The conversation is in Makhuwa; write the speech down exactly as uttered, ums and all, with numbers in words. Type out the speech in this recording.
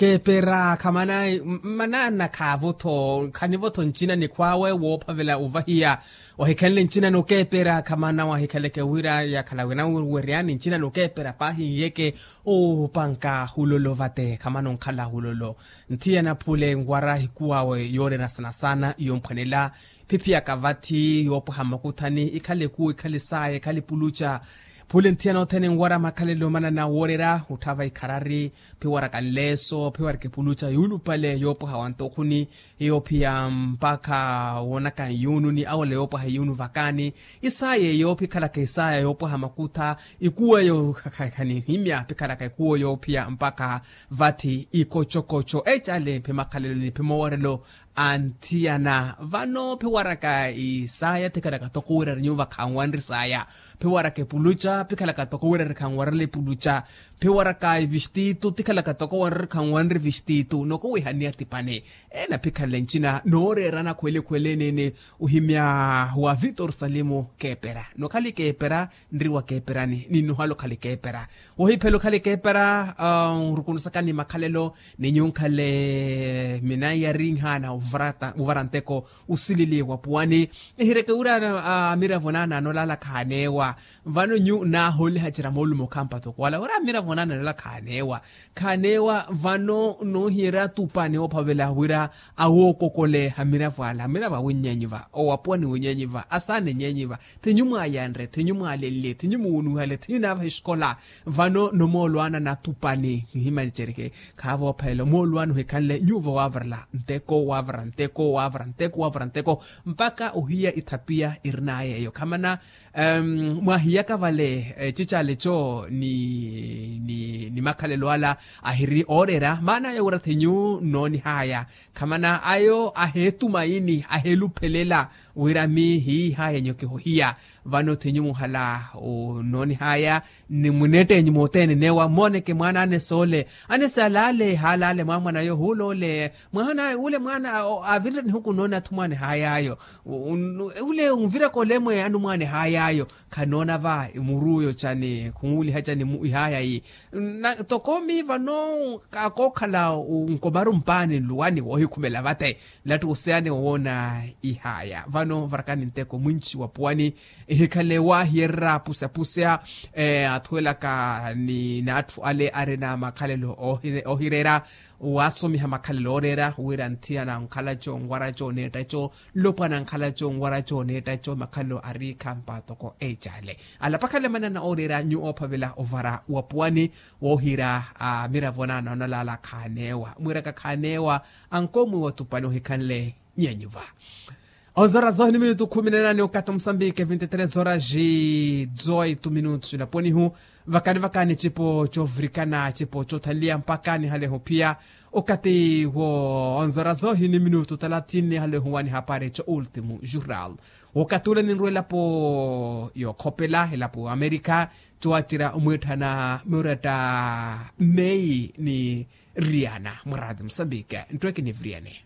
Keepera khamana. Manaana khaavo-tho khanivo-tho ncina nikhw'awe woophavela ovahiya. Ohikhanle ncina nokeepera khamana wahikhaleke wira yakhala wina weryani ncina nokeepera paahi nhiyeke. Oopanka hulolo vate khamana onkhala hulolo. Nthiyana phule nwara hikuw'awe yooreera saana-saana yomphwanela. Phiphiyaka vathi yoopwaha makuthani ikhale ekuwo ikhale saaya ikhale epuluca. Phule nthiyana othene nwara makhalelo manana wooreera otthava ikharari. Phiwaraka nleeso phiwaraka epuluca yuulupale yoopwaha wantokhuni. Hiyo phiya mpakha woonaka nyuununi awela yoopwaha iyuunu vakaani. Isaaya eyo phikhalaka isaaya yoopwaha makutha. Ikuwo eyo khaninhimya phikhalaka ikuwo eyo phiya mpakha vathi ikocokoco ecale phimakhalelo ni phimoworelo. Anthiyana vano phiwaraka isaaya thikhalaka toko wira ri nyuva khanwanri saaya. Phiwaraka epuluca phikhalaka toko wira ri khanwarela epuluca. Phiwaraka evistitu thikhalaka toko wanri khanwanri evistitu nokuwihaniya tipani. Ena phikhanle ncina nooreerana khwele khwele enene. Ohimya wa vitor salimu keepera nokhali keepera. Nri wa keeperani ninnuhale okhali keepera. Wohiphela okhali keepera. Nrukunusaka ni makhalelo ni nyunkhale minaiyarinhana ovara nteko osilili wa puwani. Ehireke wira amiravo naana anolaala khaaneewa. Vano nyu naahooliha cira moolumo khampa toko wala wira amiravo naana anolaala khaaneewa. Khaaneewa vano noohiyerya tupani woophavela wira awookokole amiravo ala amiravo awinnyeenyiva owapuwani winnyeenyiva asaana ennyenyiva. Thinyu mwaayanre thinyu mwaalenle thinyu muwunuhale thinyu naavaha exikola. Vano nomoolwaana natupani nihimancereke. Khaavoophalela omoolwaana ohikhanle nyuuvo waavarela nteko waavara nteko waavara nteko waavara nteko mpakha ohiya ithapiya irin'aya eyo khamana. Mwahiyaka vale ecicale eco ni makhalelo ala ahiri ooreera maana ayo wira thinyu nnoonih'aya. Khamana ayo aheetumaini aheeluphelela wira miihiih'aya nyo kihohiya. Vano thinyu muhala onnoonih'aya ni muneett'enyu mothene neewa mmooneke mwaana anese ole anese alaale haalaale mwaamwana ayo huula ole mwaana ule mwaana avirira nihuku nnooni athu mwaana eh'ay'ayo. Ule onviraka olemwe anumwaana eh'ay'ayo khanoona va muru oyo cani khuwuliha cani ih'aya iyi. Toko miivano kakookhala nkomaru mpaani nluwani woohikhumela vate. Nlatthi oseyani owoona ih'aya vano varakani nteko mwinci wa puwani. Ehikhale waahiyererya apuseapuse athuwelaka ni n'atthu ale arina makhalelo oohireera. Waasomiha makhalelo ooreera wira nthiyana nkhala co nwara co neetta co nlopwana nkhala co nwara co neetta co makhalelo ari khampa toko ecale. Alapakhala manana ooreera nyu oophavela ovara wa puwani woohira amiravo naana onalaala khaaneewa mwiiraka khaaneewa. Ankoomwi wa tupani ohikhanle nyeenyuva. Onzora zohi ni minutu khumi na nane okathi musambike vinti tres horas e dezoito minutos laponihu. Vakani vakani cipo covirikana cipo cothanliya mpakha nihaleho phiya okathi wo onzora zohi ni minutu talathini nihaleho wanihapari co ultimo jural. Wokathi ule ninrwa elapo yookhopela elapo amerika. Cowacerya omwiitthana muretta nei ni riana mwarati musambike nttweki ni viriane.